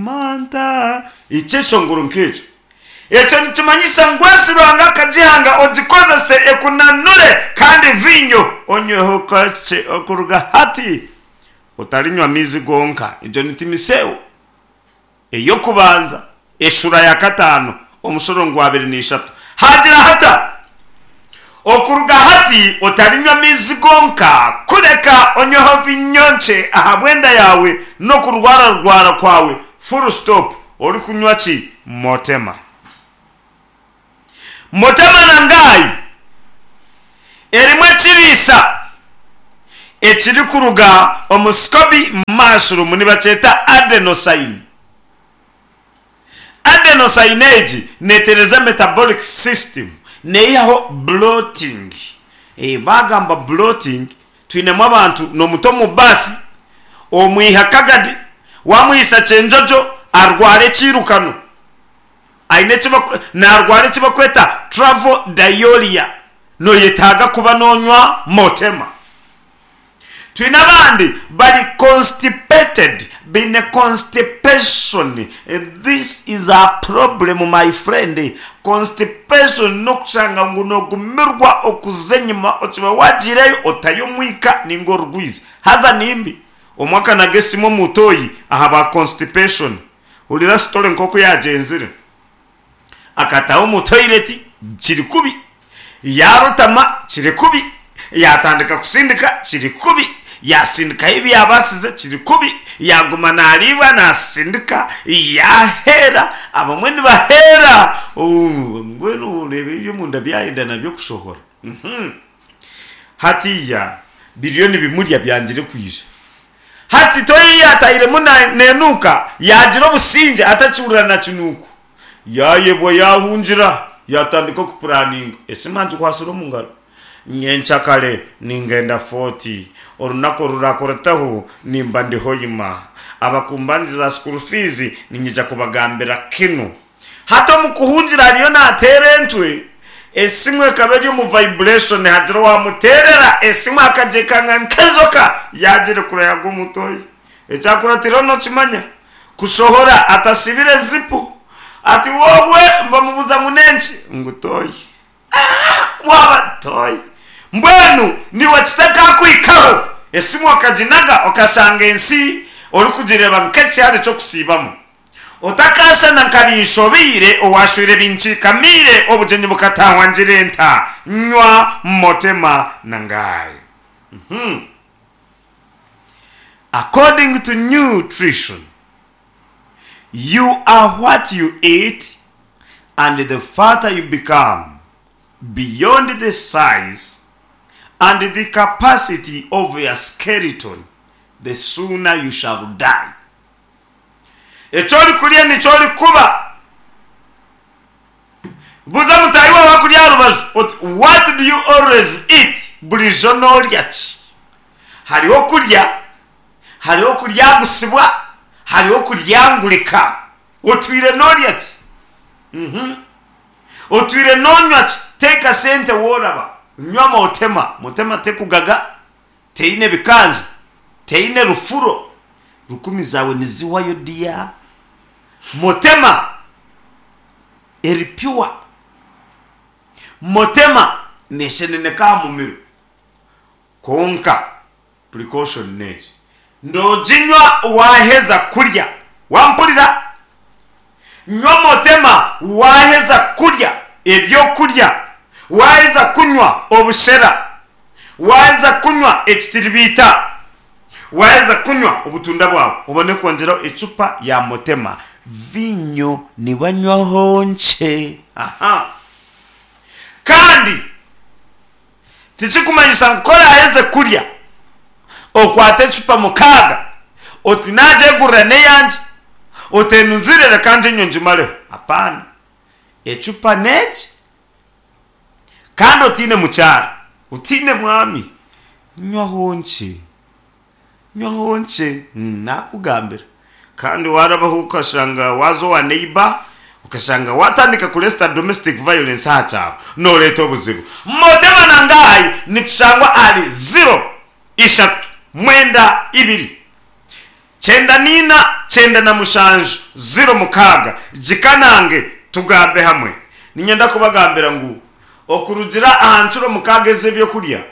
Manta. Ekyeshongoro nk'ekyo. Ekyo nikimanyisa ngu ensi Ruhanga akagihanga ogikozese ekunanure kandi viinyo onyweho kakye okuruga hati. Otarinywa maizi gonka. Egyo ni Timiseo ey'okubanza eshura ya kataano omushorongo gwa 23. Haagira hata, Okuruga hati otarinywa maizi gonka, kureka onyweho viinyo nkye ahabw'enda yaawe n'okurwararwara kwawe, full stop, orikunywa ki? Motema. Motema na Ngai erimu ekiriisa ekirikuruga omu SCOBY mushroom nibakyeta adenosine. Adenosine egi netereza metabolic system, neyihaho bloating. Bagamba bloating twinemu abantu nomuta omu bus omwiha kagadi wamwihisa kyenjojo arwara ekyirukano aine narwara ekibakweta travel diarrhea noyetaaga kuba nonywa motema. Twine abandi bari constipated, baine constipation, this is a problem my friend, constipation n'okushanga ngu nogumirwa okuza enyima okiba wagiireyo otayo omwika ninga orugwizi haza nimbi. Omwe akanaga esimu omu toyi ahabwa constipation, hurira story nk'oku yagyenzire. Akataaha omu toilet kiri kubi, yaarotama kiri kubi, yaatandika kusindika kiri kubi, yaasindikayo ebi yaabaasize kiri kubi, yaaguma naariibwa naasindika, yaaheera, abamwe nibaheera mbwenu oreeba eby'omunda byayenda nabyo kushohora. Hatiiya biriyo nibimurya byangire kwija. Hati toyi yaatahiremu neenuuka, yaagira obusingye atakihurira na kinuuko. Yaayebwa yaahungira, yaatandika okupuraninga. Esimu agikwatsire omu ngaro. Nyenkyakare ningenda Fort. Orunaku oruraakurataho nimba ndi Hoima. Abakumbangiza school fees niinyija kubagambira kinu. Hati omu kuhungira ariyo naateera entwe, esimu ekaba eri omu vibration hagira owaamuteerera esimu akagyekanga nk'enjoka yaagirekura yaagwa omu toyi. Ekyakuratiireho nookimanya? Kushohora atasibire zipu. Ati wowe bamubuuza ngu n'enki? Ngu toyi. Aah! Waaba toyi. Mbwenu niiwe kitakakuhikaho, esimu okaginaga okashanga ensi orikugireeba nk'ekihare ky'okusiibamu. Otakaashana nka binshobeire, owaashweire binkiikamiire, obugyenyi bukataahwa ngira enta, nywa, motema na ngayi. Uhmm. According to nutrition, you are what you eat and the fatter you become beyond the size and the capacity of your skeleton, the sooner you shall die. Eki orikurya nikyo orikuba. Buuza mutaahi waawe akuri aha rubaju oti, What do you always eat? Burijo noorya ki? Hariho okurya, hariho okuryagusibwa, hariho okuryangurika. Otwire noorya ki? Mhm. Otwire noonywa ki? Teeka sente wooraba. Nywa motema. Motema tekugaga. Teine bikanja, teine rufuro, rukumi zaawe nizihwayo dear. Motema eri pure, motema nesheneneka aha mumiro. Kwonka precaution n'egi, noginywa waheza kurya, wampurira? Nywa motema waheza kurya ebyokurya, waheza kunywa obushera. Waaheza kunywa ekitiribiita, waaheza kunywa obutunda bwawe, obone kwongyeraho ecupa ya motema. Viinyo nibanywaho nkye. Aha. Kandi tikirikumanyisa ngu ku oraaheze kurya okwate ecupa mukaaga oti naagyegurira n'eyangye, oti enu nzire reka ngye nywe ngimareho. Apaana. Ecupa n'egi. Kandi otaine mukyara, otaine mwami, nywaho nkye, nywaho nkye, nakugambira. Kandi warabaho okashanga waaza owa neighbour, okashanga watandika kuresita domestic violence aha kyaro, noreeta obuzibu. Motema na Ngai nitushangwa ahari ziro ishatu mwenda ibiri. 94 97 06 Gikanange tugambe hamwe. Niinyenda kubagambira ngu okurugira aha ncuro mukaaga ez'ebyokurya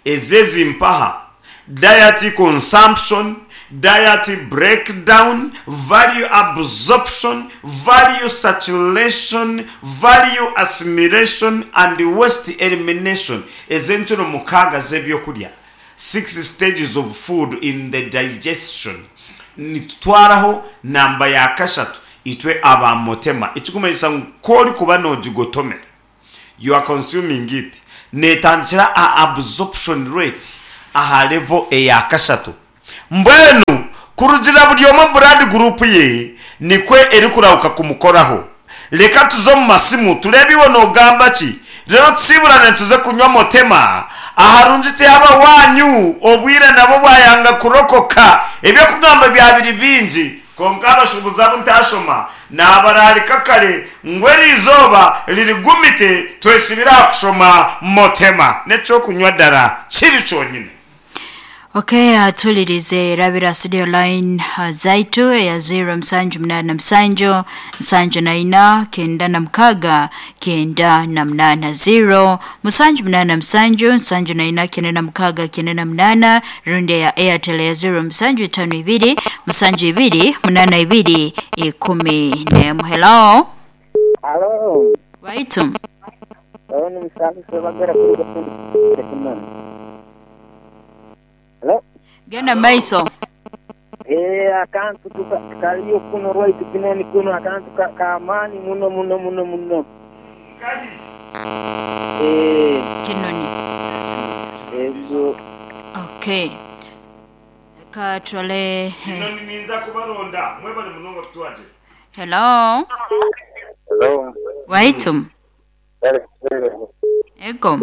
ezi ezimpaha, diet consumption, diet breakdown, value absorption, value saturation, value assimilation and waste elimination, ez'encuro mukaaga z'ebyokurya, Six stages of food in the digestion, nitutwaraho namba ya kashatu itwe aba Motema, ekirikumanyisa ngu ku orikuba noogigotomera, you are consuming it, neetandikira aha absorption rate aha level eya kashatu. Mbwenu kurugiirira buri omwe blood group ye nikwo erikurahuka kumukoraho. Reka tuze omu masimu tureebe iwe noogamba ki, reero tusiiburane tuze kunywa Motema. Aharungi tihaba waanyu, obwire nabwo bwayanga kurokoka. Eby'okugamba bya biri bingi, kwonka abashuubuzi abu ntaashoma naabaraalika kare ngu eri izooba ririgumite twesibire aha kushoma Motema n'eky'okunywa dara kiri kyonyine. Ok atulirize rabira studio line zaitu eya 0 musanju munana musanju nsanju naina kenda na mukaga kenda na munana 0 musanju munana musanju nsanju naina kenda na mukaga kenda na munana rundi eya airtel eya 0 musanju itano ibiri musanju ibiri munana ibiri ikumi nemu hello Halo, waitu oyo ni Musanzu Sebagera kuruga Kinoni. Hello? genda maiso Eh, akantu tuka kaliyo kuno rwaitu Kinoni kuno akantu ka kamaani muno muno muno muno. Eh, kinoni ego okay reka turole Kinoni ninza kubaronda mwebale munonga kutwagira. hello Hello. waitu ego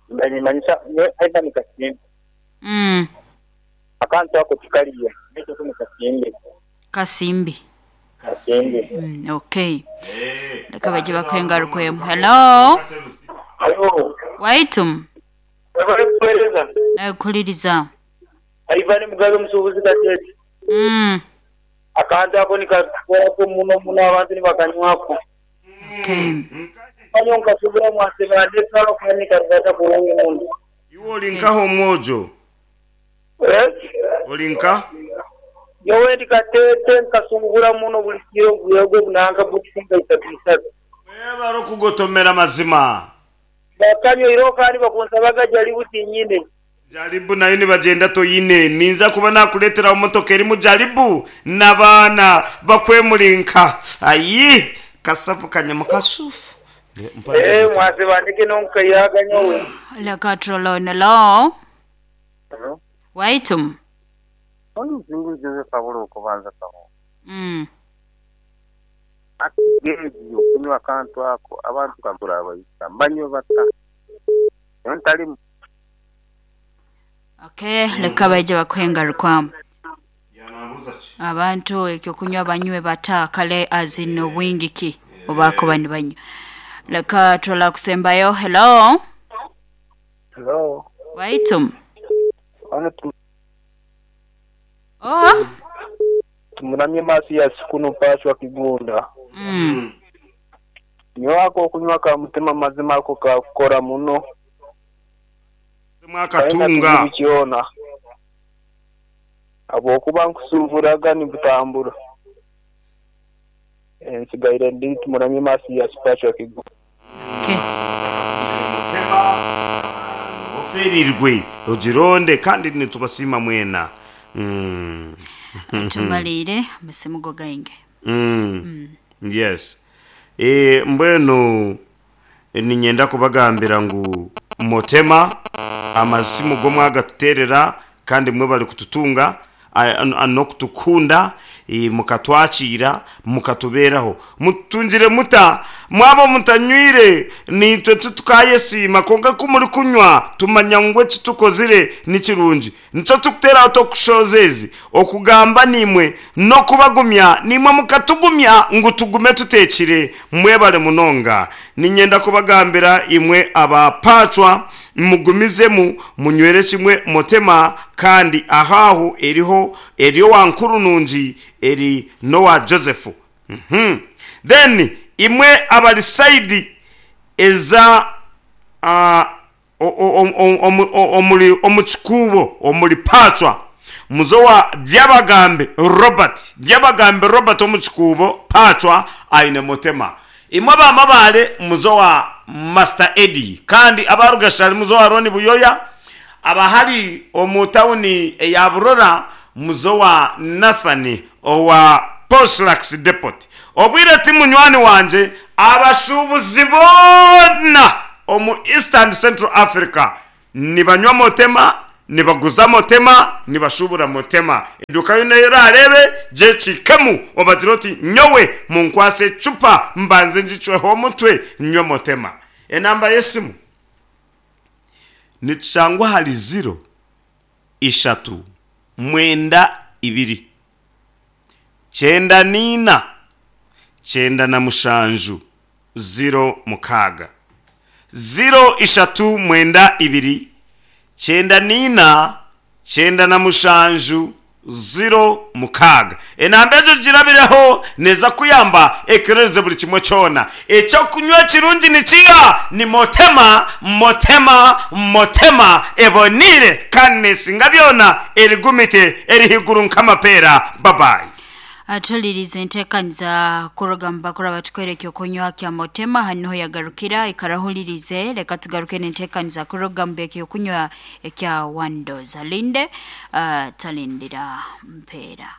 Ndanyimanyisa aida nikasimbe. Akantu ako tikaliyo. Ekyo kuno kasimbe. kasimbi Kasimbe. Okay reka bajye bakwengarukwemu hello Hello. waitu Webale kuweereza. nakuliriza Ivan Mugabe omusuubuzi Kateete. Akantu ako nikakorako muno muno abantu nibakanywako. Okay Kanywa nkasubira mwaseba ndetwalo kandi nikarubata kurungi muno. Iwe ori nkaha omwojo? Eh? Ori nka? Nyowe ndi Kateete nkasungura muno buri kiro gwego nanka bokisi nka isatu isatu. Webare okugotomera mazima. Bakanywa iroho kandi bakunsabaga jaribu tinyine. Jaribu nayo nibagyenda toine. Ninza kuba nakureeteraho motoka erimu jaribu n'abaana bakwemurinka. Ayi! Kasavu kanyama kasufu. Eh, mwaseba ndeke n'omukayaga nyowe. reka turole hello Hello? waitu Ono Muzingu Joseph Aburo okubanza kaho. Ati geegi okunywa akantu ako abantu kagura abayisa mbanywe bata. Nyowe ntarimu. Okay reka bajye bakwengarukwamu abantu ekyokunywa banywe bata kale azina obwingi ki obakuba nibanywa reka turole kusembayo hello Hello. waitu Ono oh tumuramye Mathias kuno Pashwa Kigunda. Nyowe ako okunywa ka mutima mazima ako kakukora muno. Mwakatunga. Kyona. Habwokuba nkusuvuraga nibutambura. Nsigaire ndi tumuramye Mathias Pashwa Kigunda. Okay Oferirwe ogironde kandi nitubasiima mwena. Tumaliire amasimu go gaingi. Yes. Eh, mbwenu niinyenda kubagambira ngu Motema amasimu go mwagatuteerera kandi mwebare kututunga n'okutukunda mukatwakiira mukatubeeraho. Mututungire muta? Mwaba mutanywire naitwe titukayesiima kwonka ku murikunywa tumanya ngu eki tukozire ni kirungi. Nikyo turikuteeraho tokushohoza ezi okugamba naimwe n'okubagumya naimwe mukatugumya ngu tugume tuteekire. Mwebare munonga. Niinyenda kubagambira imwe aba Pacwa. Mugumizemu munywere kimwe Motema kandi aho aho eriho eri owa Nkurunungi eri n'owa Joseph. Uhmm. Then imwe abari side eza omuri omu kikuubo omuri Pacwa muze owa Byabagambi Robert. Byabagambi Robert omu kikuubo Pacwa aine Motema. Imwe aba Mabaale muze owa Master Eddie kandi aba Rugashari muze owa Ronnie Buyoya, abahari omu tawuni eya Burora muze owa Nathan owa Poshrax Depot. Obwire ti munywani wangye, abashuubuzi boona omu East and Central Africa Nibanywa motema, nibaguza motema, nibashuubura motema. Eduuka yoona ei oraareebe, gyekiikemu obagire oti, Nyowe munkwase ecupa mbanze ngicweho omutwe nywe motema. Enamba y'esimu nitushangwa ahari ziro ishatu mwenda ibiri kyenda n'ina 97 06. 0 ishatu mwenda ibiri 94 97 06. Enamba egyo girabireho neeza kukuyamba ekerereze buri kimwe kyona. Eky'okunywa ekirungi ni kiiha? Ni Motema, Motema, Motema eboneire kandi neesinga byona, erigumite, eri haiguru nk'amapeera. Babayi. Atulirize entekaniza kuruga mu bakuru abatukwere ekyokunywa kya Motema hanu niho yagarukira ikara ohulirize leka tugaruke n'entekaniza kuruga mu by'ekyokunywa ekya Wandoza Linde uh, talindira mpeera.